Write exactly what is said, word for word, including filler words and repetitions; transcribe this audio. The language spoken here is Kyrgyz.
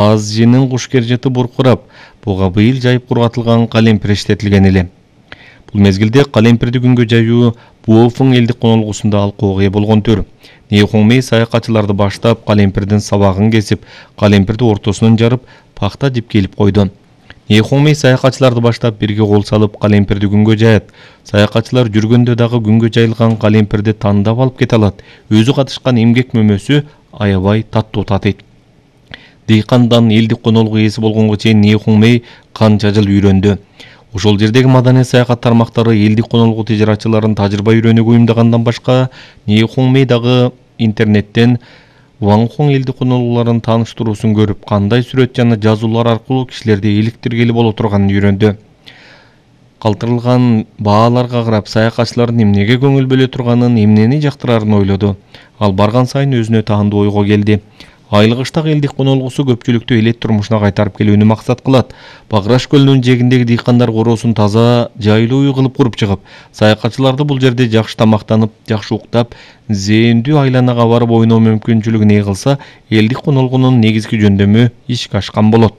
Азжинин кушкер буркурап, буга быйыл жайып кургатылган калемпир иштетилген эле. Бул мезгилде калемпирди күнгө жаюу Буофуң элдик конолгусунда алкууга ээ болгон төр. Нейхуңмей саякатчыларды баштап, калемпирдин сабагын кесип, калемпирди ортосунан жарып, пахта дип келип койду. Нейхуңмей саякатчыларды баштап бирге кол салып, калемпирди күнгө жаят. Саякатчылар жүргөндө дагы күнгө жайылган калемпирди тандап алып кете алат. Өзү катышкан эмгек мөмөсү аябай таттуу татыйт. Дыйкандан элдик конолгу ээси болгонго чейин Нейхуңмей канча жыл үйрөндү. Ошол жердеги маданий саякат тармактары элдик конолгу тижарачыларын тажрыйба үйрөнүүгө уюмдагандан башка, Нейхуңмей дагы интернеттен Ваңхуң элдик конолгуларын тааныштыруусун көрүп, кандай сүрөт жана жазуулар аркылуу кишилерди иликтиргели боло турганын үйрөндү. Калтырылган бааларга карап, саякатчылардын эмнеге көңүл бөлө турганын, эмнени жактырарын ойлоду. Ал барган сайын өзүнө таандуу ойго келди. Айылгыштак элдик конолгусу көпчүлүктү элет турмушуна кайтарып келүүнү максат кылат. Баграш көлүнүн жээгиндеги дыйкандар короосун таза, жайлуу үй кылып куруп чыгып, саякатчыларды бул жерде жакшы тамактанып, жакшы уктап, зээндүү айланага барып ойноо мүмкүнчүлүгүн ээ кылса, элдик конолгунун негизги жөндөмү ишке ашкан болот.